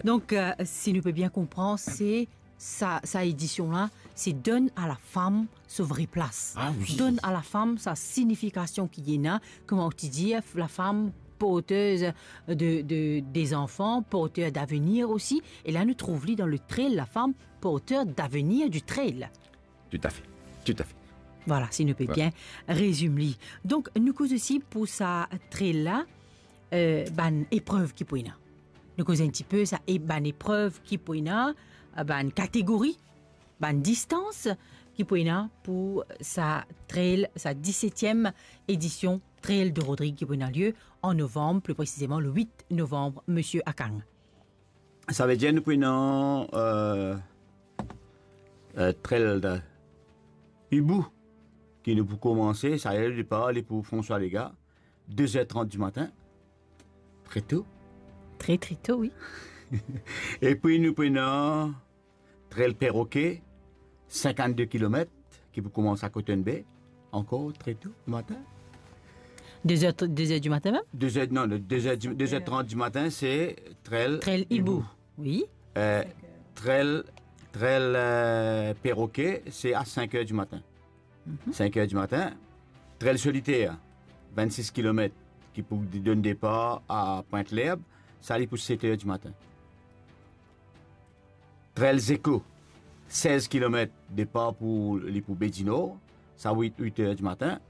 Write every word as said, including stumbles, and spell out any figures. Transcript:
Donk, euh, si nou pe bien konpran, se sa, sa edision la, se donn a lafam so vre plas. Ah wi. Donn a lafam sa signifikasion ki ena, kouma ou ti dir, lafam portez de, de, de zanfan, porter davenir osi. E la, nou trouv li dan le trail, lafam porter davenir di trail. Tout à fait, tout à fait. Vwala, si nou pe bien rezim li. Donk, nou koz osi pou sa trail la, euh, bann eprev ki pou ena. Nou koz enn tipe sa e bann eprev ki pou ena, euh, bann kategori, bann distans ki pou ena pou sa trail, sa disetiem edision Trail de Rodrigues ki pou ena lie an novanm, pli presizeman le wit novanm, Misie Akang. Savedir nou pou ena, euh, euh, trail de Hibou, ki nou pou koumanse, sa le depar li pou François Légat, de zer trant dimatin, tre to. Tre, tre to, wi. Epi nou pou ena trail Perroquet, sinkannde kilomet, ki pou koumans a Cotton Bay, ankor tre to dimatin. De zer, de zer dimatin mem? De zer, non, de zer di-, de zer trant dimatin, se trail Trail Hibou. Hibou. Wi. Euh, trail, trail, euh, Perroquet, se a sink er dimatin. Mhm. Sink er dimatin. Trail Solitaire, vennsis kilomet, ki pou donn depar a Pointe-l'Herbe, sa li pou set er dimatin. Trail Zeko, sez kilomet, depar pou, li pou Baie du Nord, sa wit, wit er dimatin.